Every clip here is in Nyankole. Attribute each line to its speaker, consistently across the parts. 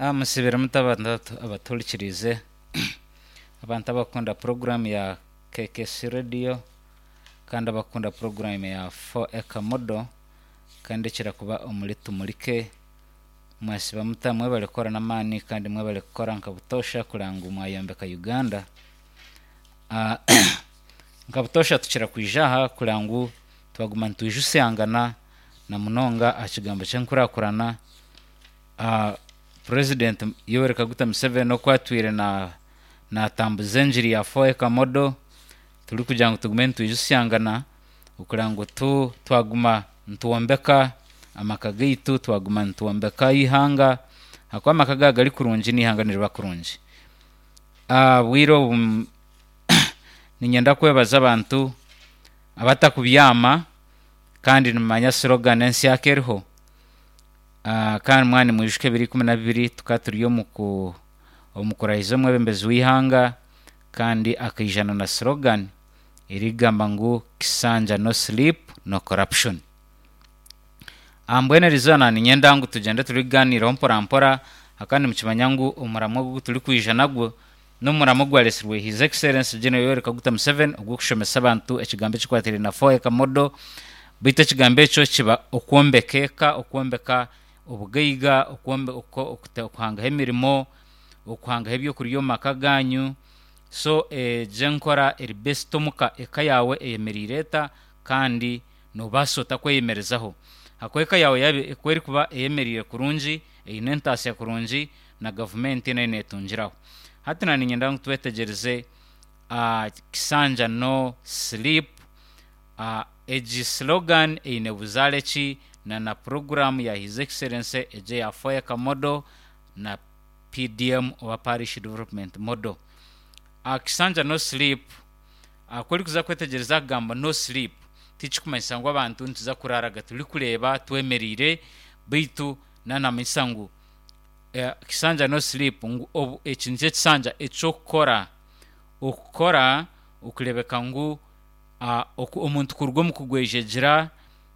Speaker 1: Musibire muta abantu abatuhurikiriize, abantu abakukunda puroguraamu ya KKC Radio kandi abakukunda puroguraamu ya 4 Acre Model kandi ekira kuba omuri Tumurike. Mwasiba muta? Mwebale kukora n'amaani kandi mwebale kukora nka butoosha kureba ngu mwayombeka Uganda. Nka butoosha tukira kwija aha kureba ngu twaguma nitwijusyangana na munonga aha kigambo ky'enkurakurana. Purezidenti Yoweri Kaguta Museveni oku atwire naatambuza engiri ya 4 Acre Model turikugira ngu tugume nitwijusyangana okureba ngu twaguma nitwombeka amaka gaitu, twaguma nitwombeka eihanga ahakuba amaka gaaba gari kurungi n'eihanga niriba kurungi. Obwire obu niinyenda kwebaza abantu abatakubyama kandi nimumanya slogan ensya eriho kandi mwaba nimwijuka ebiro 12 tukaba turi omu kurahiza omwebembezi w'eihanga kandi akaija na slogan erikugamba ngu Kisanja no sleep no corruption. Mbwenu eriizooba niinyenda ngu tugyende turikugaaniiraho mpora mpora ahakuba nimukimanya ngu omuramwa ogu turikwija nagwo n'omuramwa ogwaretsirwe His Excellency General Yoweri Kaguta Museveni ogw'okushomesa abantu ekigambo ekikwatiraine na 4 Acre Model beitu ekigambo ekyo kiba okwombeka eka, okwombeka obugaiga, okuhangaho emirimo, okuhangaho ebyokurya omu maka gaanyu. So egyo enkora eri best omuka, eka yaawe eyemereire eta kandi noobaasa ota kweyemerezaho? Ahakuba eka yaawe yaaba ku erikuba eyemereire kurungi, eine entaasya kurungi, na gavumenti nayo neetungiraho. Hati naanye niinyenda ngu twetegyereze Kisanja no sleep, egi slogan eine buzaare ki na na puroguraamu ya His Excellency egyo eya 4 Acre Model na PDM oba Parish Development Model. Kisanja no sleep, ku orikuza kwetegyereza akagamba no sleep, tikikumanyisa ngu abantu nituza kuraaraga turikureeba twemereire beitu naanamanyisa ngu Kisanja no sleep ngu obu eki nikyo ekisanja eky'okukora, okukora okureebeka ngu omuntu kuruga omu kugwejegyera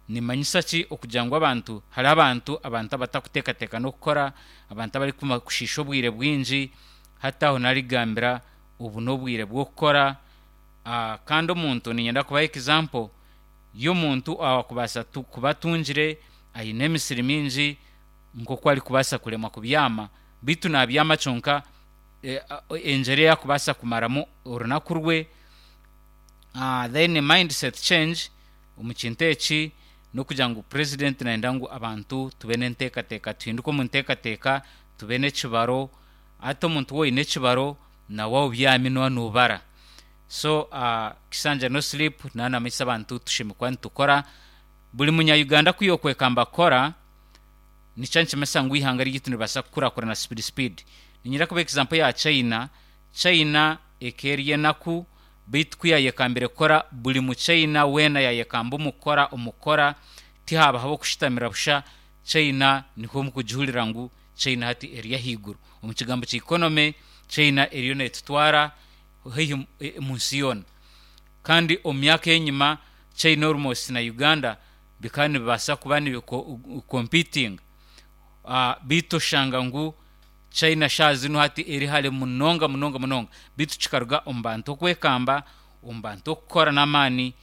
Speaker 1: nimanyisa ki okugira ngu abantu hariho abantu abantu abatakuteekateeka n'okukora, abantu abarikushiisha obwire bwingi hati aho naarikugambira obu n'obwire bw'okukora kandi omuntu niinyenda kubaha example y'omuntu owaakubaasa kuba atungire aine emisiri mingi nk'oku arikubaasa kuremwa kubyama beitu naabyama kyonka engyera ei arikubaasa kumaramu orunaku rwe. Then mindset change omu kintu eki n'okugira ngu purezidenti nayenda ngu abantu tube n'enteekateeka, tuhinduke omu nteekateeka, tube n'ekibaro. Hati omuntu waaba oine ekibaro nawe waaba obyami nooba noobara. So Kisanja no sleep naaba naamanyisa abantu tushemereire kuba nitukora. Buri munya Uganda ku yookwekamba kukora, nikyo nikimanyisa ngu eihanga ryaitu niribaasa kukurakurana speed speed. Niinyenda kubaha example ya China, China eka eri enaku beitu ku yaayekambire kukora buri muchaina weena yaayekamba omu kukora omu kukora tihaabaho ab'okushutamira busha, China niho mukugihurira ngu China hati eri ahaiguru. Omu kigambo kya economy, China eriyo neetutwara haihi omu nsi yoona. Kandi omu myaka ey'enyima China almost na Uganda bikaba nibibaasa kuba nibi competinga beitu oshanga ngu China shaaha zinu hati eri hare munonga munonga munonga beitu kikaruga omu bantu okwekamba, omu bantu okukora n'amaani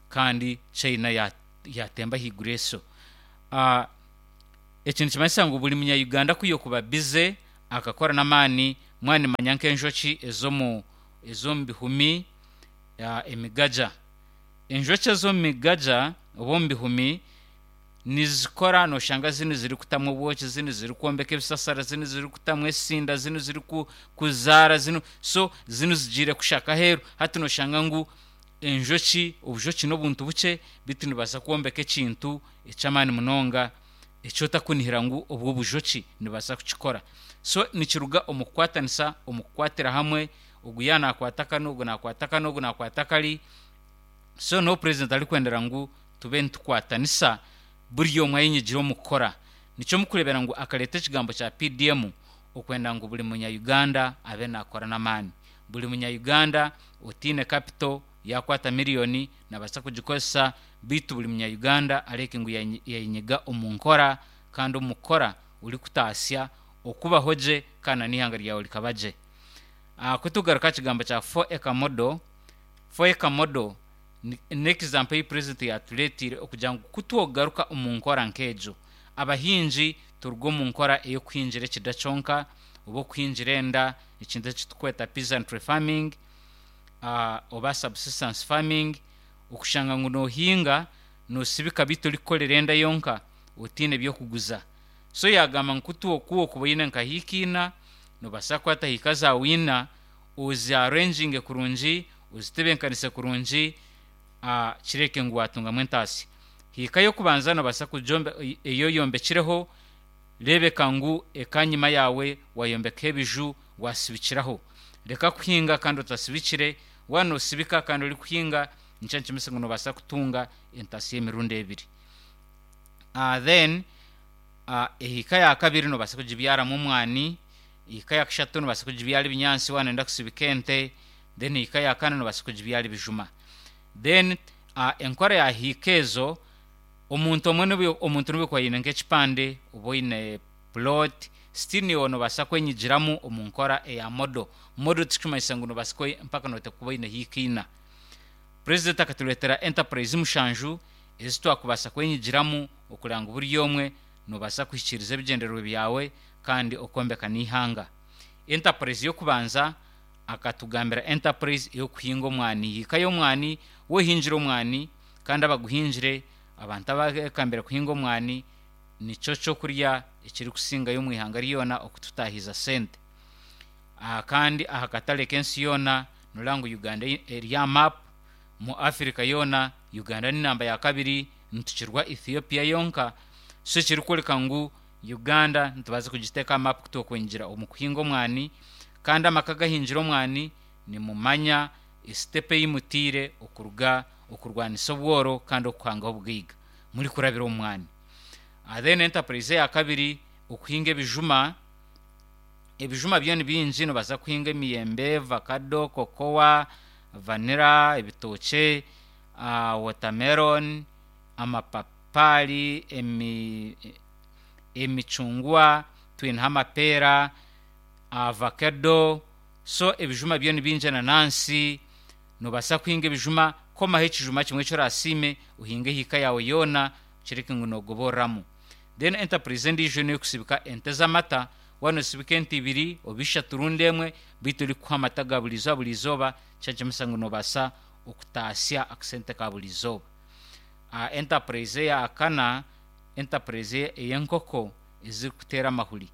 Speaker 1: kandi China yaatemba ahaiguru eso. Eki nikimanyisa ngu buri munya Uganda ku yookuba bize akakora n'amaani, mwaba nimumanya nk'enjoki ez'omu ez'omu bihumi emigaja. Enjoki ez'omu migaja oba omu bihumi nizikora nooshanga zinu zirikutamu obwoki, zinu zirikwombeka ebisasara, zinu zirikutamu esinda, zinu zirikuzaara, zinu so zinu zigiire kushaka aheeru. Hati nooshanga ngu enjoki, obujoki n'obuntu bukye beitu nibubaasa kwombeka ekintu eky'amaani munonga eki otakunihira ngu obwo obujoki nibubaasa kukikora. So nikiruga omu kukwatanisa, omu kukwatira hamwe, ogu yaaba naakwata kanu, ogu naakwata kanu, ogu naakwata kari. So n'obu purezidenti arikwendera ngu tube nitukwatanisa buri omwe ayenyigire omu kukora. Nikyo murikureebera ngu akareeta ekigambo kya PDM okwenda ngu buri munya Uganda abe naakora n'amaani. Buri munya Uganda otaine capital yaakwata miriyoni naabaasa kugikozesa beitu buri munya Uganda areeke ngu yaayenyiga omu nkora kandi omu kukora orikutaasya. okubaho gye kandi na n'eihanga ryawe rikaba gye. Ku tugaruka aha kigambo kya 4 Acre Model, 4 Acre Model n'example ei purezidenti yaatureeteire okugira ngu ku twogaruka omu nkora nk'egyo, abahingi turuge omu nkora ey'okuhingira ekida kyonka oba okuhingira enda, ekintu eki turikweta peasantry farming oba subsistence farming, okushanga ngu noohinga noosibika beitu orikukorera enda yonka otaine by'okuguza. So yaagamba ngu ku wokuba oine nka hiika ina, noobaasa kukwata hiika zaawe ina ozi arranginge kurungi, ozitebeekanise kurungi kireebeke ngu waatungamu entaasya. Hiika y'okubanza noobaasa kugyombe ei oyombekireho, reebeka ngu ekanyima yaawe waayombekaho ebiju waasibikiraho. Reka kuhinga kandi otasibikire, waaba noosibika kandi orikuhinga nikyo nikimanyisa ngu noobaasa kutunga entaasya y'emirundi ebiri. Then ehiika ya kabiri noobaasa kugibyaramu omwani, ehiika ya kashatu noobaasa kugibyara ebinyaatsi waaba nooyenda kusibika ente, then ehiika ya kana noobaasa kugibyara ebijuma. Then enkora ya hiika ezo, omuntu omwe n'obu omuntu n'obu okuba oine nk'ekipande oba oine plot, still naiwe noobaasa kwenyigiramu omu nkora eya model. Model tikirikumanyisa ngu noobaasa kuba mpaka nooteekwa kuba oine hiika ina. Purezidenti akatureetera enterprise mushanju ezi twakubaasa kwenyigiramu okureba ngu buri omwe noobaasa kuhikiiriza ebigyendererwa byawe kandi okombeka n'eihanga. Enterprise y'okubanza akatugambira enterprise ey'okuhinga omwani, hiika y'omwani, wohingire omwani kandi abaguhingire, abantu abekambire kuhinga omwani nikyo ky'okurya ekirikusingayo omu ihanga ryona okututaahiza sente. Kandi aha katare k'ensi yoona noreeba ngu Uganda eri aha map, omu Africa yoona Uganda ni namba ya kabiri nitukirwa Ethiopia yonka, so ekirikworeka ngu Uganda nitubaasa kugiteeka aha map ku turikwingira omu kuhinga omwani kandi amaka agahingire omwani nimumanya esitepu ei mutaire okuruga okurwanisa obworo kandi okuhangaho obugaiga murikurabira omu mwani. Then enterprise eya kabiri okuhinga ebijuma, ebijuma byo ni bingi nobaasa kuhinga emiyembe, vakado, kokowa, vanilla, ebitookye, watermelon, amapapaari, emi emicungwa, twineho amapeera, avakedo, so ebijuma byo ni bingi enanansi, noobaasa kuhinga ebijuma, komaho ekijuma kimwe eki oraasiime ohinge ehiika yaawe yoona okireke ngu noogoboreramu. Then enterprise endiijo n'ey'okusibika ente z'amata, waaba noosibika ente ibiri oba ishatu rundi emwe beitu erikukuha amata ga buri izooba buri izooba, nikyo nikimanyisa ngu noobaasa okutaasya akasente ka buri izooba. Enterprise eya kana, enterprise ey'enkoko ezirikuteera amahuri.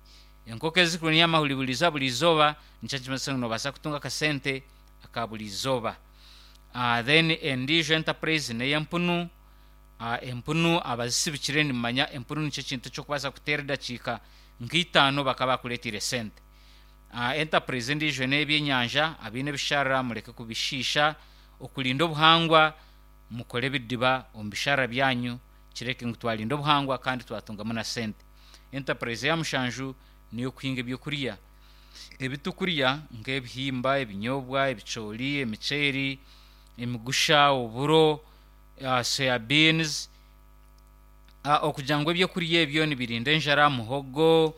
Speaker 1: Enkoko ezirikurunya amahuri buri izooba buri izooba nikyo nikimanyisa ngu noobaasa kutunga akasente aka buri izooba. Then endiijo enterprise n'ey'empunu, empunu abazisibikire nimumanya empunu nikyo kintu eki orikubaasa kuteera edakiika nka itaano bakaba bakureeteire sente. Enterprise endiijo n'ey'ebyenyanja, abaine ebisharara mureke kubishiisha, okurinda obuhangwa mukore ebidiba omu bisharara byanyu kireke ngu twarinda obuhangwa kandi twatungamu na sente. Enterprise eya mushanju n'ey'okuhinga ebyokurya. Ebi turikurya nk'ebihimba, ebinyobwa, ebicoori, emiceeri, emigusha, oburo, soya beans, okugira ngu ebyokurya ebyo nibirinda enjara, muhogo,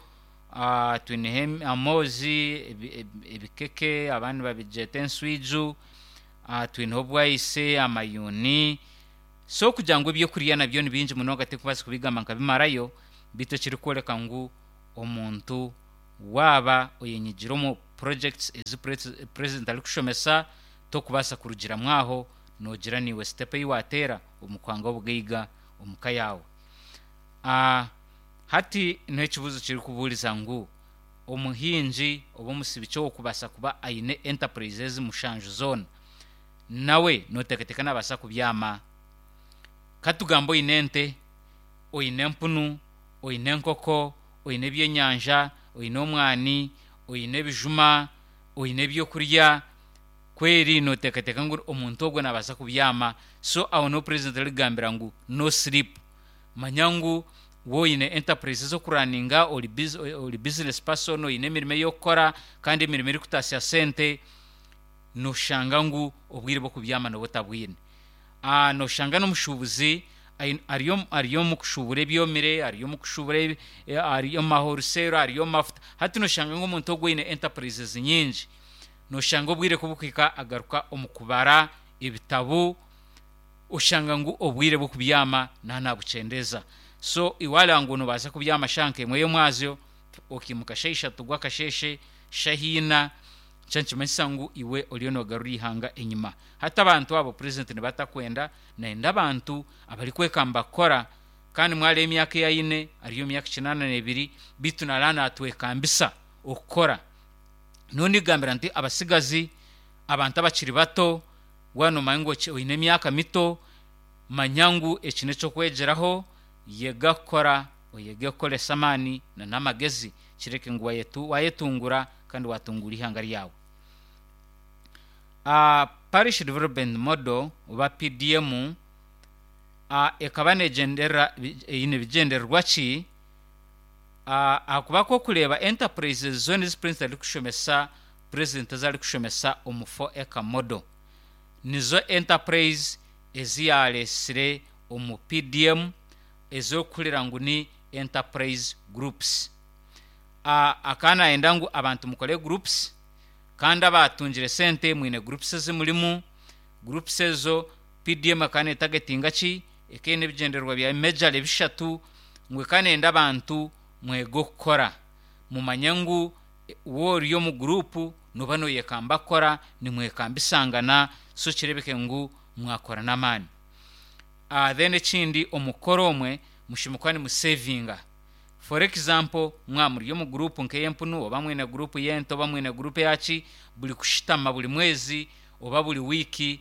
Speaker 1: twineho amoozi, ebikeke abandi nibabigyeta enswiju, twineho obwayise, amayuuni. So okugira ngu ebyokurya nabyo ni bingi munonga tindikubaasa kubigamba nkabimarayo, beitu ekirikworeka ngu omuntu waaba oyenyigire omu projects ezi purezidenti arikushomesa, tokubaasa kurugiramu aho noogira naiwe sitepu ei waateera omu kuhanga obugaiga omu ka yaawe. Hati niho ekibuuzo kirikubuuriza ngu omuhingi oba omusibiki ow'okubaasa kuba aine enterprise ezi mushanju zoona, nawe nooteekateeka naabaasa kubyama? Ka tugambe oine ente, oine empunu, oine enkoko, oine ebyenyanja, oine omwani, oine ebijuma, oine ebyokurya, kweri nooteekateeka ngu omuntu ogwo naabaasa kubyama? So aho niho purezidenti arikugambira ngu no sleep. Manya ngu waaba oine enterprise ez'okuraninga, ori business person, oine emirimo ey'okukora kandi emirimo erikutaasya sente, nooshanga ngu obwire bw'okubyama nooba otabwine. Nooshanga n'omushuubuzi Ari ari omu kushuubura ebyomire, ari omu kushuubura ari omu mahoruseero, ari omu mafuta. Hati nooshanga ngu omuntu ogwo aine enterprises nyingi. Nooshanga obwire ku burikuhika agaruka omu kubara ebitabo, oshanga ngu obwire bw'okubyama naaba naabukyendeeza. So iwe wareeba ngu noobaasa kubyama shaaha nk'emwe y'omwazyo, okaimuka shaaha ishatu gw'akasheeshe, shaaha ina, nikyo nikimanyisa ngu iwe oriyo noogarura eihanga enyima. Hati abantu abo purezidenti nibo atakwenda, nayenda abantu abarikwekamba kukora kandi mwareeba emyaka ei aine ari omu myaka kinaana n'ebiri beitu naraaba naatwekambisa okukora. Nyowe ndigambira nti abatsigazi, abantu abakiri bato, waaba noomanya ngu oine emyaka mito, manya ngu eki n'eky'okwegyeraho, yega kukora, oyege kukoresa amaani n'amagezi kireke ngu waayetungura kandi waatunguura eihanga ryawe. Parish Development Model oba PDM ekaba negyenderera eine bigyendererwa ki? Ahakuba ku orikureeba enterprises zoona ezi Purezidenti arikushomesa, Purezidenti ezi arikushomesa omu 4 Acre Model nizo enterprise ezi yaareetsire omu PDM ezi orikuhurira ngu ni enterprise groups. Akaba naayenda ngu abantu mukore groups Kandi abaatungire sente mwine groups ezi murimu, groups ezo PDM ekaba netagetinga ki? Ekaba eine ebigyendererwa byayo majorly bishatu, ngu ekaba neyenda abantu mwege okukora, mumanye ngu waaba ori omu group nooba noyekamba kukora, nimwekambisangana so kireebeke ngu mwakora n'amaani. Then ekindi omu kukora omwe mushemereire kuba nimusevinga. For example, mwaba muri omu group nk'ey'empunu oba mwine group y'ente oba mwine group eya ki, buri kushutama buri mwezi oba buri wiiki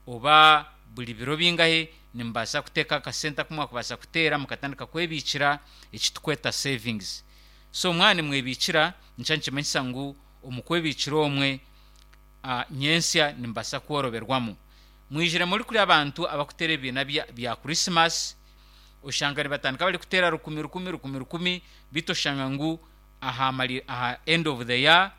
Speaker 1: oba buri biro bingahe nimubaasa kuteeka akasente aku mwakubaasa kuteera mukatandika kwebiikira eki turikweta savings. So mwaba nimwebiikira nikyo nikimanyisa ngu omu kwebiikira omwe nyentsya nimubaasa kworoberwamu. Mwijire muri kuri abantu abarikuteera ebibiina bya Christmas, oshanga nibatandika barikuteera rukumi rukumi rukumi rukumi beitu oshanga ngu aha mari aha end of the year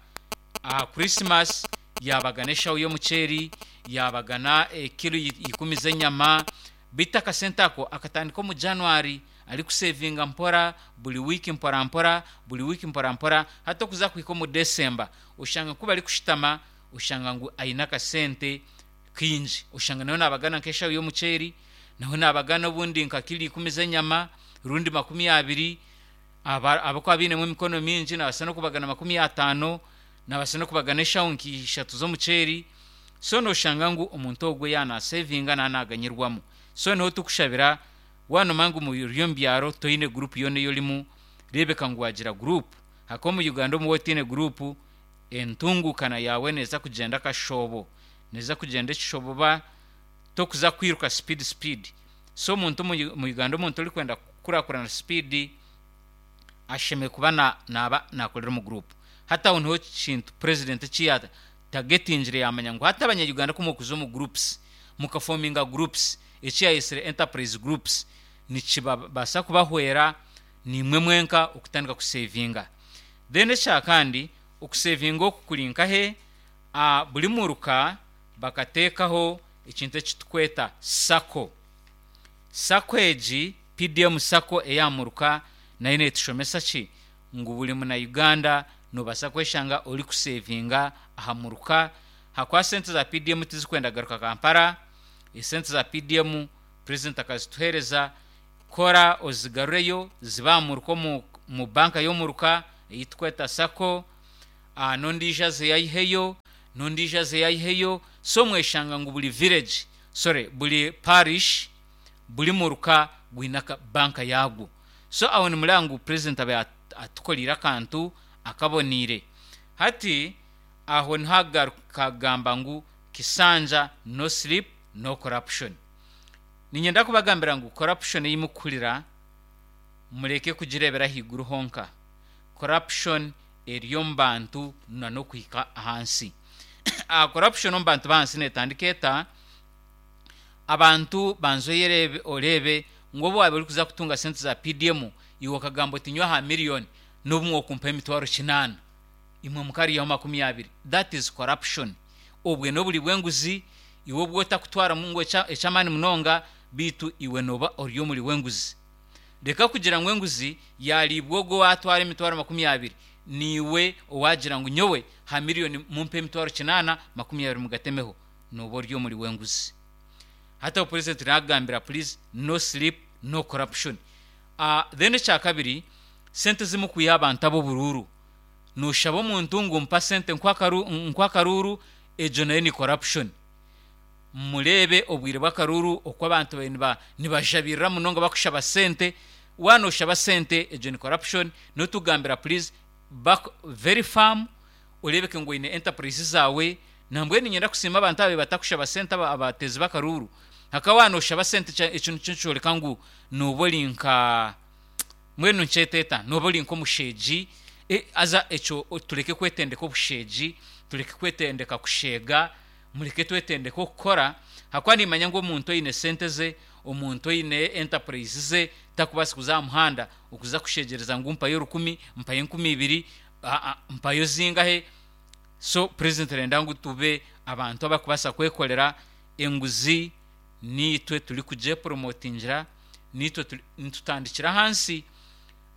Speaker 1: aha Christmas yaabagana eshaho y'omuceeri, yaabagana ekilo ikumi z'enyama beitu akasente ako akatandika omu January arikusevinga mpora buri wiiki mpora mpora buri wiiki mpora mpora hati okuza kuhika omu December oshanga ku barikushutama oshanga ngu aine akasente kaingi oshanga nawe naabagana nk'eshaho y'omuceeri Nawe naabagana obundi nka kilo ikumi z'enyama, rundi 20. Aba abakuba bainemu emikono mingi naabaasa n'okubagana 50, naabaasa n'okubagana eshaho nka ishatu z'omuceeri. So nooshanga ngu omuntu ogwo yaaba naasevinga naaba naaganyirwamu. So niho turikushabira waaba noomanya ngu ori omu byaro toine guruupu yoona ei orimu, reebeka ngu waagira guruupu. Ahakuba omu Uganda omu waaba otaine guruupu, entunguukana yaawe neeza kugyenda akashoobo, neeza kugyenda ekishoboba. Tokuza kwiruka speed speed so omuntu omu Uganda omuntu orikwenda kukurakurana speed ashemereire kuba naba nakorera omu group. Hati aho niho kintu president eki ya targetingire yamanya ngu hati abanya Uganda ku murikuza omu groups muka forminga groups eki yayesire enterprise groups nikibabasa kubahwera nimwe mwenka okutandika kusevinga. Then ekyakandi okusevinga oku kuri nkahe? Buri muruka bakateekaho ekintu eki turikweta sacco. Sacco egi, PDM sacco eya muruka nayo neetushomesa ki? Ngu buri muna Uganda noobaasa kweshanga orikuseevinga aha muruka ahakuba sente za PDM tizikwenda kugaruka Kampala, esente za PDM purezidenti akazituheereza, kora ozigarureyo zibe aha muruka omu banka y'omuruka ei turikweta sacco. N'ondiijo azeyo aiheyo, n'ondiijo azeyo aiheyo, so mweshanga ngu buri village, sorry, buri parish, buri muruka gwine aka banka yaagwo. So aho nimureeba ngu president abaire atukoreire akantu akaboneire. Hati aho niho agaruka agamba ngu Kisanja no sleep no corruption. Niinyenda kubagambira ngu corruption ei murikuhurira mureke kugireebera ahaiguru honka. Corruption eri omu bantu na n'okuhika ahansi. Corruption omu bantu b'ahansi neetandika eta? Abantu banza oyereebe oreebe ngu obu waabaire orikuza kutunga sente za PDM iwe okagamba oti nyowe aha million n'obumwe okumpa emitwaro kinaana imwe mukariyaho 20. That is corruption. Obwe n'oburi bw'enguzi iwe obu otakutwaramu ngu eky'amaani munonga. Beitu iwe nooba ori omuri w'enguzi. Reka kugira ngu enguzi yaariibwa ogwo owaatwara emitwaro 20, naiwe owaagira ngu nyowe ha miriyoni mumpe emitwaro kinaana, 20 mugatemeho. Nooba ori omuri w'enguzi. Hati aho purezidenti naakugambira please no sleep, no corruption. Then ekyakabiri, sente ezi mukwiha abantu ab'oburuuru. Nooshaba omuntu ngu mpa sente nkuhe akaruuru, egyo nayo ni corruption. Mureebe obwire bw'akaruuru oku abantu babaire nibajabirira munonga bakushaba sente. Waaba nooshaba sente egyo ni corruption, n'otugambira please ba very firm oreebeke ngu oine enterprise zaawe. Nambwenu niinyenda kusiima abantu ababaire batakushaba sente abateezi b'akaruuru. Hakaba waaba nooshaba sente ekyo nikyo nikyoreka ngu nooba ori nka mbwenu nkyete eta, nooba ori nk'omusheegi. Haza ekyo tureke kwetendeka obusheegi, tureke kwetendeka kusheega. Mureke twetendeke okukora, ahakuba nimanya ngu omuntu oine sente ze, omuntu oine enterprise ze, takubaasa kuza aha muhanda okuza kushegyereza ngu mpayo rukumi, mpayo 2000, aa mpayo zingahe. So president nayenda ngu tube abantu abarikubaasa kwekorera, enguzi niitwe turikugyepromotingira, niitwe nitutandikira ahansi.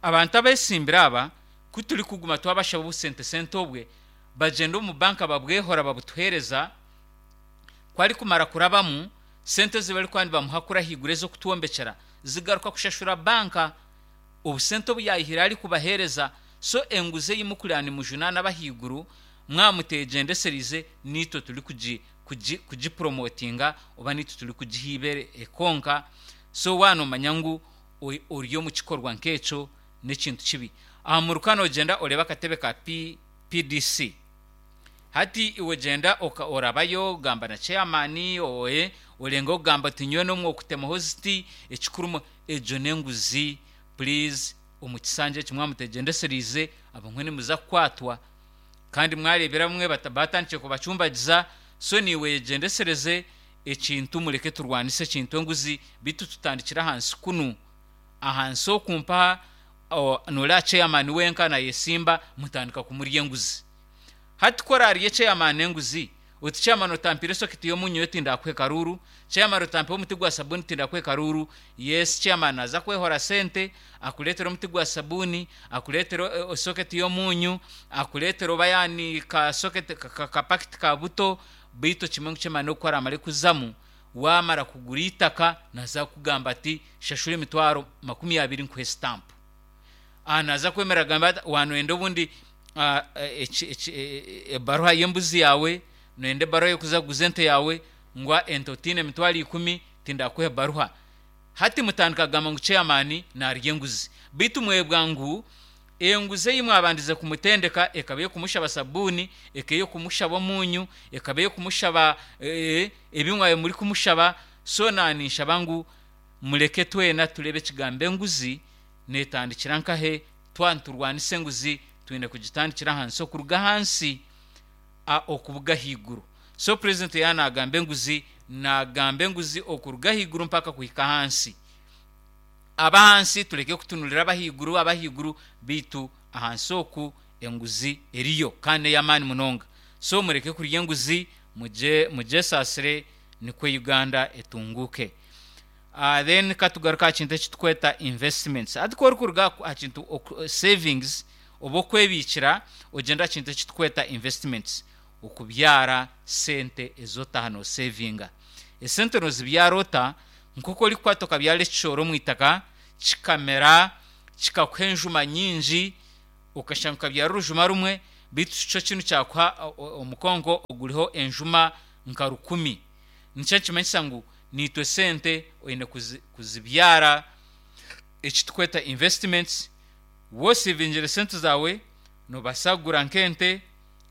Speaker 1: Abantu abesimbire aba ku turikuguma twabashaba obusente sente obwe, Bagyenda omu banka babwehora babutuheereza, ku arikumara kurabamu, sente ezi barikuba nibamuha kuri ahaiguru ez'okutwombekyera zigaruka kushashura banka obusente obu yaayihire arikubaheereza. So enguzi ei murikureba nimujunaana ab'ahaiguru mwaba muteegyendesereize naitwe turikugi kugi kugipromotinga oba naitwe turikugiha eibeere ekonka. So waaba noomanya ngu ori omu kikorwa nk'ekyo n'ekintu kibi. Aha muruka noogyenda oreebe akatebe ka PDC. Hati iwe gyenda orabayo ogamba na chairman oe orenga okugamba oti nyowe nomwe okutemaho ziti ekikuru egyo nenguzi please omu kisanja eki mwaba mutegyendesereize abamwe nimuza kukwatwa kandi mwarebera abamwe batandikire kubacumbagiza so naiwe yegyendesereze ekintu mureke turwanise ekintu enguzi beitu tutandikire ahansi kunu ahansi oku mpaha Noreeba chairman wenka nayesimba mutandika kumurya enguzi. Hati ku oraarye chairman enguzi, oti chairman otampiire soketi y'omunyu nyowe tindakuhe karuuru, chairman otampiire omuti gwa sabuuni tindakuhe karuuru, yes chairman naaza kwehora sente akureetere omuti gwa sabuuni, akureetere soketi y'omunyu, akureetere oba yaani ka soketi ka pakiti ka buto, beitu okimanye ngu chairman ogu ku araamare kuzamu, Waamara kugura eitaka, naaza kukugamba ati, Shashura emitwaro 20 nkuhe sitampu. Aha naaza kwemerera agambe ati, Waaba nooyenda obundi ebaruha y'embuzi yaawe, nooyenda ebaruha y'okuza kuguza ente yaawe, ngu ente otaine emitwaro ikumi, tindakuha ebaruha. Hati mutandika kugamba ngu ceyamaani naarya enguzi. Beitu mwebwa ngu Enguzi ei mwabandize kumutendeka ekaba ey'okumushaba sabuuni, ekaba ey'okumushaba omunyu, ekaba ey'okumushaba ebi mwabaire murikumushaba. So naninshaba ngu mureke twena tureebe ekigambo enguzi netandikira nkahe. Twaba niturwanisa enguzi twine kugitandikira ahansi okuruga ahansi okubuga ahaiguru. So purezidenti yaaba nagamba enguzi, nagamba enguzi okuruga ahaiguru mpaka kuhika ahansi. Ab'ahansi tureke kutunurira ab'ahaiguru ab'ahaiguru beitu ahansi oku enguzi eriyo kandi n'ey'amaani munonga. So mureke kurya enguzi mugye mugyesaasire nikwo Uganda etunguuke. Then ka tugaruke aha kintu eki turikweta investments. Hati ku orikuruga aha kintu savings oba okwebiikira ogyenda aha kintu eki turikweta investments, okubyara sente ezi otaaha noosevinga. Esente noozibyara ota? Nk'oku orikukwata okabyara ekicoori omu itaka kikamera kikakuha enjuma nyingi, okashanga okabyara orujuma rumwe beitu kyo kinu kyakuha omukonko oguriho enjuma nka rukumi. Nikyo nikimanyisa ngu naitwe sente oine kuzibyara eki turikweta investments. Waaba osevingire sente zaawe noobaasa kugura nk'ente,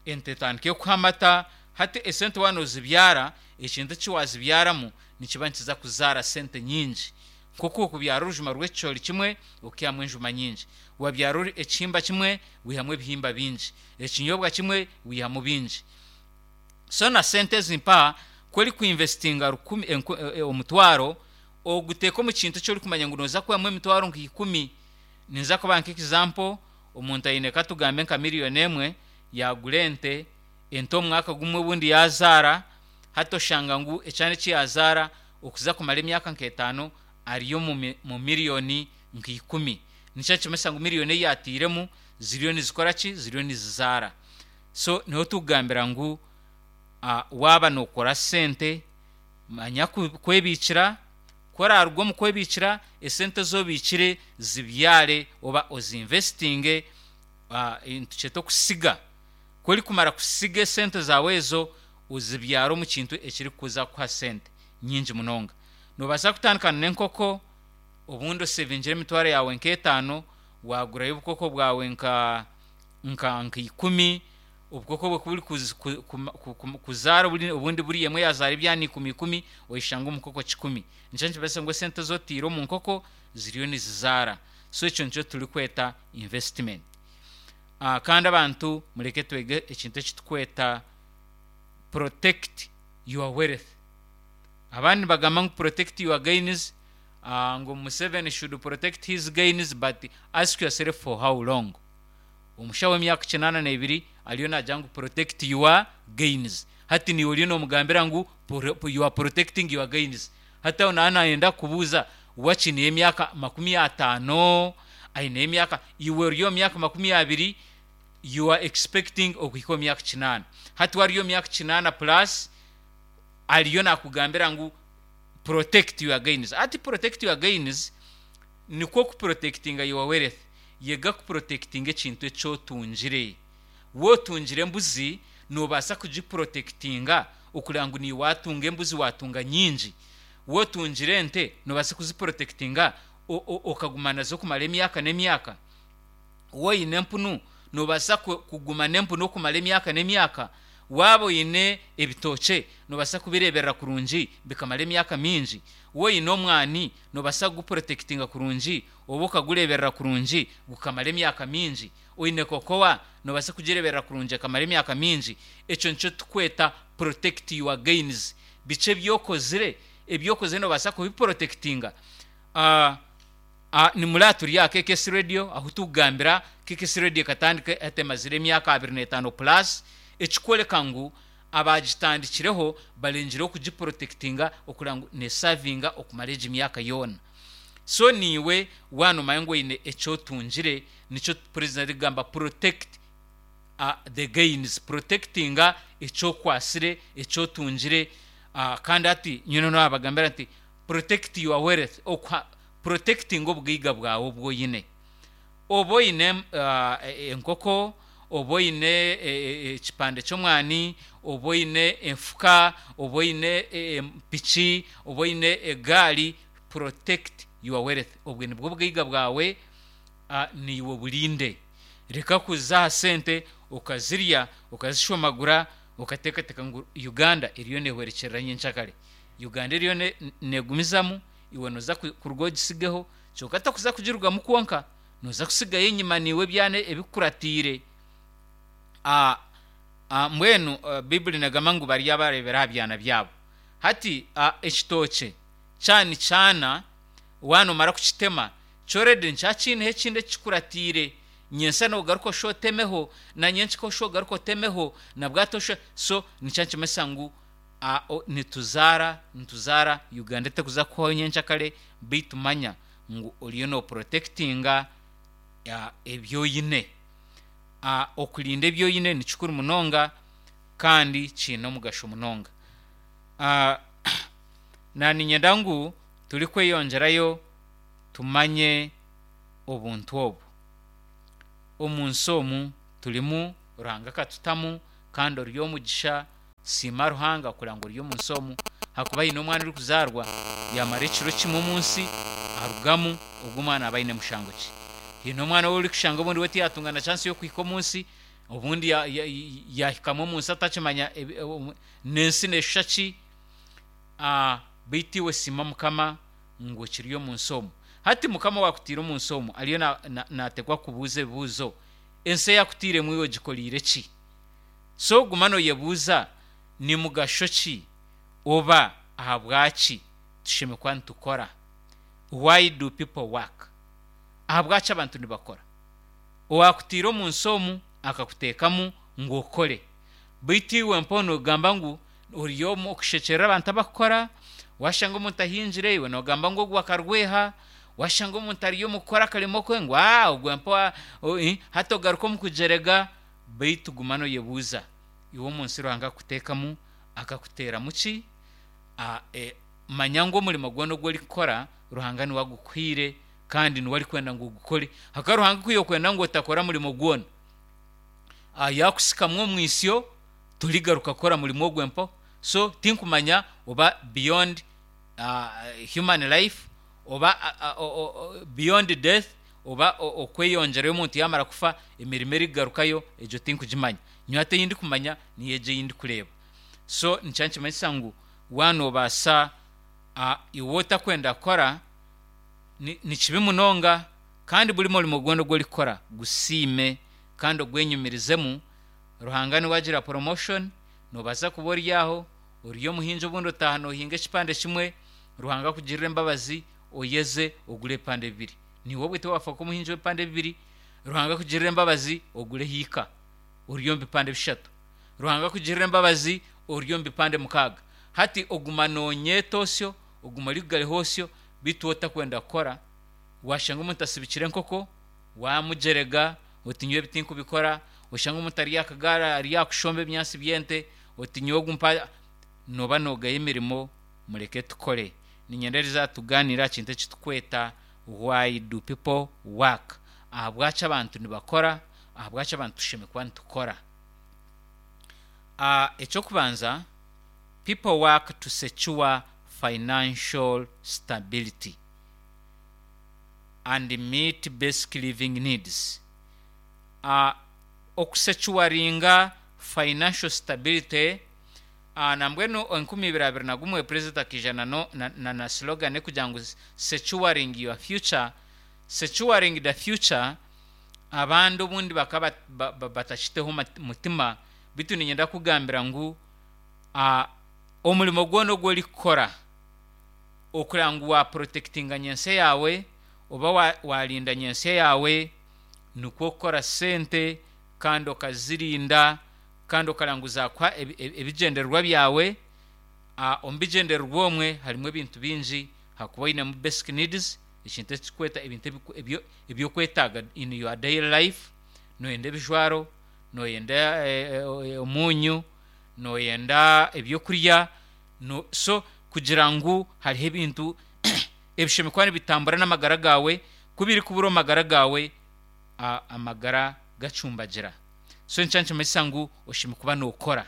Speaker 1: ente etandike kukuha amata. Hati esente waaba noozibyara, ekintu eki waazibyaramu nikiba nikiza kuzaara sente nyingi. Nk'oku orikubyara orujuma rw'ekicoori kimwe okaihamu enjuma nyingi. Waabyara ekihimba kimwe waihamu ebihimba bingi. Ekinyobwa kimwe waihamu bingi. So na sente ezi mpaha ku orikuinvestinga rukumi, omutwaro, oguteeka omu kintu eki orikumanya ngu nooza kwihamu emitwaro nka ikumi. Ninza kubaha nk'example, omuntu aine katugambe nka miriyoni emwe yaagura ente, ente omu mwaka gumwe obundi yaazaara, hati oshanga ngu ekyana eki yaazaara okuza kumara emyaka nk'etaano ari omu mu miriyoni nk'ikumi. Nikyo nikimanyisa ngu miriyoni ei yaatairemu ziriyo nizikora ki? Ziriyo nizizaara. So niho turikugambira ngu waaba nookora sente manya kwebiikira, ku oraaruga omu kwebiikira, esente ezi obiikire zibyare oba ozinvesitinge, nitukyeta okusiga. Ku orikumara kusiga esente zaawe ezo, ozibyare omu kintu ekirikuza kukuha sente nyingi munonga. Noobaasa kutandika n'enkoko, obundi osevingire emitwaro yaawe nk'etaano, waagurayo obukoko bwawe nka nka ikumi, obukoko obwo ku buri kuzaara obundi buri emwe yaazaara ebyana ikumi ikumi, oyeshanga omu nkoko kikumi. Nikyo nikimanyisa ngu esente ezi otaire omu nkoko ziriyo nizizaara. So ekyo nikyo turikweta investment. Kandi abantu mureke twege ekintu eki turikweta protect your wealth. Abandi nibagamba ngu protect your gains, ngu Museveni should protect his gains but ask yourself for how long? Omushaho w'emyaka kinaana n'ebiri ariyo naagira ngu protect your gains. Hati naiwe oriyo noomugambira ngu you are protecting your gains. Hati aho naaba naayenda kukubuuza waakiri aine emyaka makumi ataano, aine emyaka, iwe ori omu myaka 20, you are expecting okuhika omu myaka kinaana. Hati we ari omu myaka kinaana plus ariyo naakugambira ngu protect your gains. Hati protect your gains nikwo kuprotectinga your wealth. Yega kuprotectinga ekintu eki otungire. Waotungire embuzi, noobaasa kugiprotectinga okureba ngu niiwe waatunga embuzi waatunga nyingi. Waotungire ente, noobaasa kuziprotectinga okaguma nazo kumara emyaka n'emyaka. Waoine empunu, noobaasa kuguma n'empunu okumara emyaka n'emyaka. Waaba oine ebitookye, noobaasa kubireeberera kurungi bikamara emyaka mingi. Waoine omwani, noobaasa kuguprotectinga kurungi oba okagureeberera kurungi gukamara emyaka mingi. Oine kokowa, noobaasa kugireeberera kurungi ekamara emyaka mingi. Ekyo nikyo turikweta protect your gains. Biki ebi okozire? Ebi okozire noobaasa kubiprotectinga. Ni muri aha turi aha KKS Radio ahu turikugambira. KKS Radio ekatandika hati emazire emyaka 25 plus, ekikworeka ngu abaagitandikireho barengireho kugiprotectinga okureba ngu nesavinga okumara egi myaka yoona. So naiwe waaba noomanya ngu oine eki otungire, nikyo purezidenti arikugamba protect the gains, protectinga eki okwatsire, eki otungire. Kandi hati nyowe naabagambira nti protect your wealth, protectinga obugaiga bwawe obu oine. Oba oine enkoko, oba oine ekipande ky'omwani, oba oine enfuka, oba oine piki, oba oine egaari, protect your wealth. Obwe nibwo bugaiga bwawe, naiwe oburinde. Reka kuza aha sente okazirya, okazishomagura, okateekateeka ngu Uganda eriyo neehwerekyerera nyenkyakare. Uganda eriyo neegumizamu, iwe nooza kuruga ogisigeho, Kyonka tokuza kugirugamu kwonka, noza kusigayo enyima naiwe ebyana ebikukuratiire. A a Mbwenu Baibuli negamba ngu bari abareebera aha byana byabo. Hati a ekitookye kyaba nikyana, waaba nomara kukitema, kyo already nikiba kiineho ekindi ekikikuratiire. Nyentsya nogaruka oshushe otemeho, na nyenkika oshushe ogaruke otemeho, na bwati oshushe, so nikyo nikimanyisa ngu a o nituzaara, nituzaara, Uganda etekuza kuhwaho nyenkyakare beitu manya ngu oriyo noprotectinga ebi oine. Okurinda ebi oine nikikuru munonga kandi kiine omugasho munonga. Naninyenda ngu turikweyongyerayo tumanye obuntu obu. Omunsi omu turimu Ruhanga akatutamu kandi ori omugisha. Siima Ruhanga kureba ngu ori omu nsi omu, ahakuba haine omwana orikuzaarwa yaamara ekiro kimwe omu nsi arugamu, ogwo omwana aba aine mushango ki? Haine omwana ou orikushanga obundi we tiyaatunga na chance y'okuhika omu nsi, obundi yaahikamu omu nsi atakimanya n'ensi neeshusha ki, beitu iwe siima Mukama ngu okiri omu nsi omu. Hati Mukama owaakutaire omu nsi omu ariyo naateekwa kukubuuza ebibuuzo, ensi ei akutairemu iwe ogikoreire ki? So guma noyebuuza ni mugasho ki oba ahabwaki tushemereire kuba nitukora? Why do people work? Ahabwaki abantu nibakora? Owakutaire omu nsi omu akakuteekamu ngu okore. Beitu iwe mpaho nogamba ngu ori omu kushekyerera abantu abakukora, Washanga omuntu ahingire iwe nogamba ngu ogwo akarweha, washanga omuntu ari omu kukora akarimo ke ngu aa ogwo mpa hati ogaruka omu kugyerega beitu guma noyebuuza iwe omu nsi Ruhanga akutekamu akakuteramu ki? Manya ngu omurimo gwona ogu orikukora Ruhanga niwe agukuhaire kandi niwe arikwenda ngu ogukore. Ahakuba Ruhanga ku yookwenda ngu otakora murimo gwona, yaakusikamu omwitsyo torigaruka kukora murimo ogwo mpaho. So tinkumanya oba beyond human life oba beyond death oba okweyongyerayo omuntu yaamara kufa emirimo erikugarukayo egyo tinkugimanya. Nyowe hati ei ndikumanya niyo egyo ei ndikureeba. So nikyo nikimanyisa ngu waaba noobaasa iwe otakwenda kukora ni kibi munonga kandi buri murimo gwona ogu orikukora gusiime kandi ogwenyumirizemu. Ruhanga niwe agira promotion, noobaasa kuba ori aho ori omuhingi obundi otaaha noohinga ekipande kimwe, Ruhanga akugirire embabazi oyeze ogure ebipande bibiri. Naiwe obwe tiwaafa kuba omuhingi w'ebipande bibiri, Ruhanga akugirire embabazi ogure hiika ori omu bipande bishatu. Ruhanga akugirire embabazi ori omu bipande mukaaga. Hati oguma noonyeeta osyo, oguma orikugareho osyo, beitu otakwenda kukora. Waashanga omuntu asibikire enkoko, waamugyerega oti nyowe ebi tinkubikora, oshanga omuntu ari aha kagaari ari aha kushomba ebinyaatsi by'ente, oti nyowe ogu mpa, nooba noogaya emirimo, mureke tukore. Niinyenda eriizooba tugaaniire aha kintu eki turikweta Why do people work? Ahabwaki abantu nibakora? Ahabwaki abantu tushemereire kuba nitukora? Eky'okubanza, people work to secure financial stability and meet basic living needs. Okusecuwaringa financial stability, nambwenu 2021 Purezidenti akaija na slogan erikugira ngu securing your future, securing the future, abandi obundi bakaba batakiteho mutima beitu niinyenda kukugambira ngu omurimo gwona ogu orikukora okureba ngu waaporotekitinga nyentsya yaawe oba waarinda nyentsya yaawe nikwo kukora sente kandi okazirinda kandi okareba ngu zaakuha ebigyendererwa byawe. Omu bigyendererwa omwe harimu ebintu bingi ahakuba oinemu basic needs, ekintu eki turikweta ebintu eby'okwetaaga in your daily life, nooyenda ebijwaro, nooyenda omunyu, nooyenda ebyokurya, so kugira ngu hariho ebintu ebishemereire kuba nibitambura n'amagara gaawe, ku birikubura omu magara gaawe, amagara gacumbagira. So nikyo nikimanyisa ngu oshemereire kuba nookora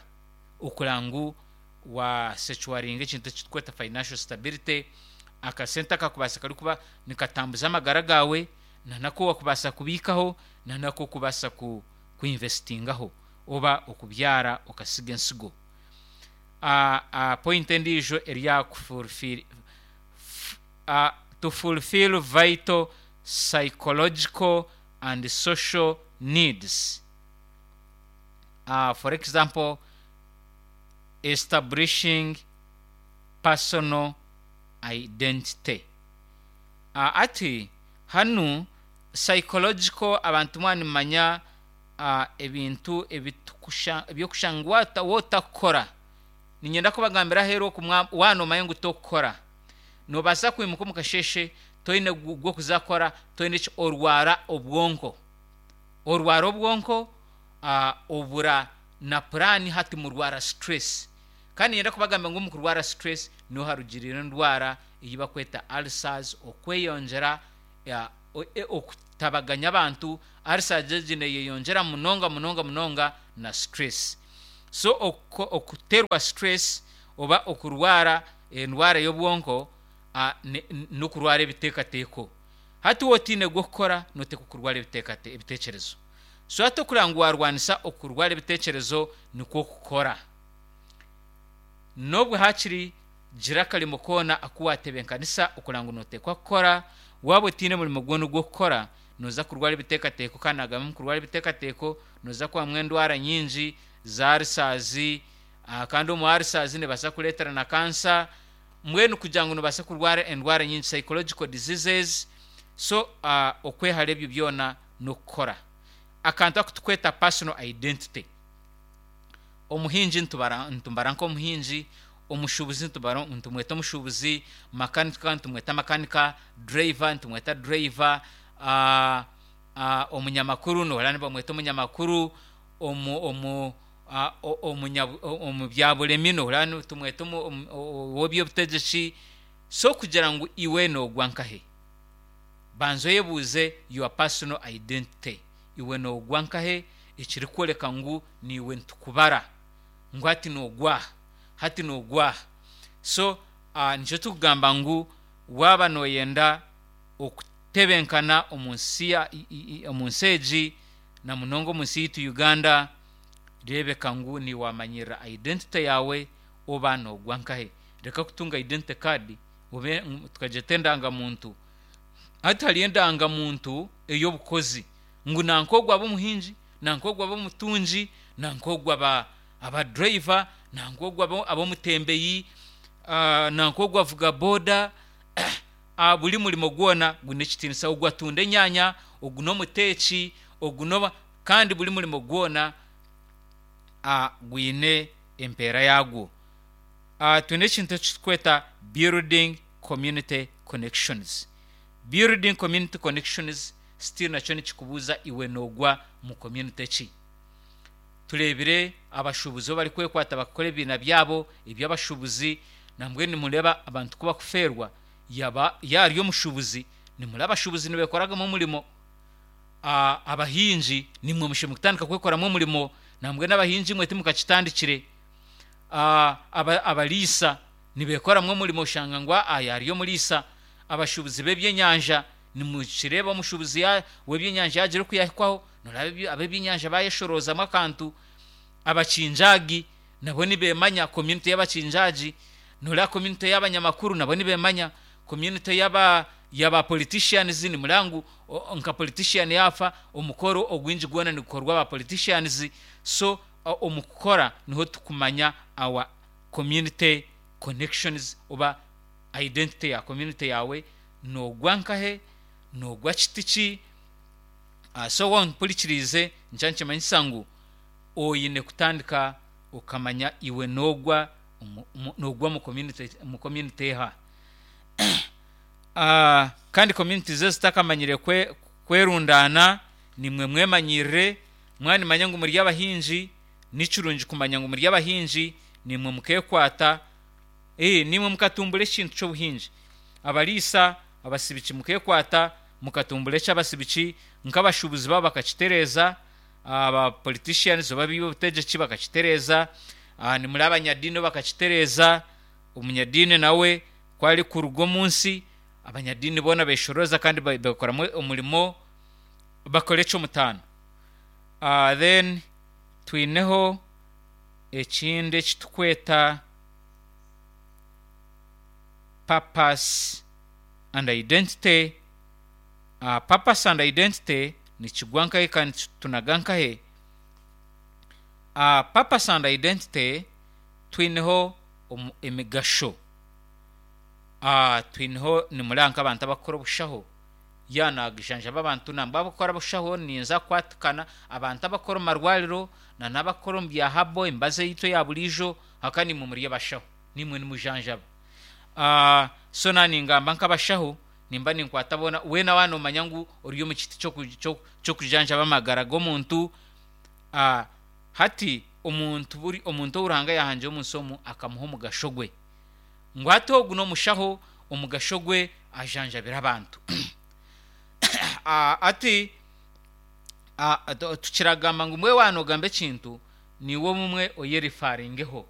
Speaker 1: okureba ngu wa secuwaringa ekintu eki turikweta financial stability, akasente akakubaasa karikuba nikatambuza amagara gaawe, na n'aku wakubaasa kubiikaho, na n'aku orikubaasa ku kuinvestingaho oba okubyara okasiga ensigo. Point endiijo eri aha ku fulfil to fulfil vital psychological and social needs. For example, establishing personal identity. Ati hanu psychological abantu mwaba nimumanya ebintu eby'okushanga ngu waaba otakukora, niinyenda kubagambira aheeru oku waaba noomanya ngu tokukora, noobaasa kwimuka omu kasheeshe toine gw'okuza kukora, toine ki, orwara obwonko. Orwara obwonko, obura na puraani hati murwara stress. Kandi niinyenda kubagambira ngu omu kurwara stress niho harugiriire endwara ei barikweta ulcers, okweyongyera okutabaganya abantu, ulcers egi neyeyongyera munonga munonga munonga na stress. So okuterwa stress oba okurwara endwara y'obwonko n'okurwara ebiteekateeko. Hati waaba otaine gw'okukora noteekwa kurwara ebiteekyerezo. So hati okureba ngu waarwanisa okurwara ebiteekyerezo nikwo kukora. N'obu haakiri Gira akarimo koona aku waatebeekanisa okureba ngu nooteekwa kukora. Waaba otaine murimo gwona ogw'okukora, nooza kurwara ebiteekateeko kandi naagamba omu kurwara ebiteekateeko nooza kubamu endwara nyingi za arisaazi kandi omu arisaazi neebaasa kukureetera na kansa. Mbwenu kugira ngu noobaasa kurwara endwara nyingi, psychological diseases, so okwehara ebyo byona n'okukora. Akantu aku turikweta personal identity. Omuhingi nitumubara nk'omuhingi. Omushuubuzi nitumweta omushuubuzi, makanika nitumweta makanika, driver nitumweta driver, omunyamakuru nohurira nibamweta omunyamakuru, omu omu byaburemi nohurira nitumweta ow'eby'obutegyeki. So kugira ngu iwe noogwa nkahe? Banza oyebuuze your personal identity, iwe noogwa nkahe ekirikworeka ngu niiwe nitukubara ngu hati noogwa aha, hati noogwa aha. So nikyo turikugamba ngu waaba nooyenda okutebenkana omu nsi omu nsi egi na munonga omu nsi yaitu Uganda, reebeka ngu niiwe waamanyirira identity yaawe oba noogwa nkahe. Reka kutunga identity card obe tukagyeta endangamuntu. Hati hariyo endangamuntu ey'obukozi ngu nanka ogu abe omuhingi, nanka ogu abe omutungi, nanka ogu aba driver, nanka ogu abe omutembeyi, nanka ogu avuga boda, buri murimo gwona gwine ekitiinisa. Ogu atunda enyaanya, ogu n'omuteeki, ogu n'oba kandi buri murimo gwona gwine empeera yaagwo. Twine ekintu eki turikweta building community connections. Building community connections still nakyo nikikubuuza iwe noogwa mu community ki? Tureebire abashuubuzi obu barikwekwata bakakora ebibiina byabo eby'abashuubuzi, nambwenu nimureeba abantu ku bakufeerwa yaaba yaari omushuubuzi, nimureeba abashuubuzi nibeekoragamu omurimo, abahingi naimwe mushemereire kutandika kwekoramu omurimo, nambwenu abahingi imwe timukakitandikire. Abariisa nibeekoramu omurimo oshanga ngu aa yaari omuriisa. Abashuubuzi b'ebyenyanja nimukireeba omushuubuzi w'ebyenyanja yaagira oku yaahikwaho nooreeba ab'ebyenyanja baayeshoroozamu akantu. Abakinjaagi nabo nibeemanya community y'abakinjaagi, nooreeba community y'abanyamakuru nabo nibeemanya, community y'aba y'aba politicians nimureeba ngu nka politician yaafa omukoro ogwingi gwona nigukorwa aba politicians so Omu kukora niho tukumanya our community connections oba identity ya community yaawe, noogwa nkahe, noogwa kiti ki. So waaba ompurikiriize nikyo nikimanyisa ngu oine kutandika okamanya iwe noogwa noogwa omu community omu community eha. Kandi communities ezitakamanyire kwerundaana nimwe mwemanyirire. Mwanimanya ngu muri abahingi, ni kirungi kumanya ngu muri abahingi, naimwe mukeekwata, ee, naimwe mukatumbura ekintu ky'obuhingi. Abariisa, abasibiki mukeekwata, mukatumbura eky'abasibiki, nk'abashuubuzi baabo bakakitereeza, aba politicians oba ab'eby'obutegyeki bakakitereeza, nimuri abanyadiini bo bakakitereeza, omunyadiini nawe ku arikuruga omu nsi, abanyadiini boona beeshorooza kandi beekoramu omurimo, bakora eky'omutaano. Then twineho ekindi eki turikweta purpose and identity. Purpose and identity nikigwa nkahi kandi nikitunaga nkahe? Purpose and identity twineho emigasho. Twineho nimureba nk'abantu abarikukora obushaho. Yaaba naajanjaba abantu nangwa abakukora obushaho ninza kukwatikana abantu abakukora omu marwariro na n'abakukora omu bya habo emibazi eyaitu eya buriijo ahakuba naimwe muri abashaho naimwe nimujanjaba. So naaba ningamba nk'abashaho nimba ninkwata boona weena waaba noomanya ngu ori omu kiti ky'okujanjaba amagara g'omuntu hati omuntu buri omuntu ou Ruhanga yaahangire omu nsi omu akamuha omugasho gwe. Ngu hati ogu n'omushaho omugasho gwe ajanjabire abantu. Hati tukiragamba ngu mbwenu waaba noogamba ekintu, niiwe obumwe oyerifaringeho.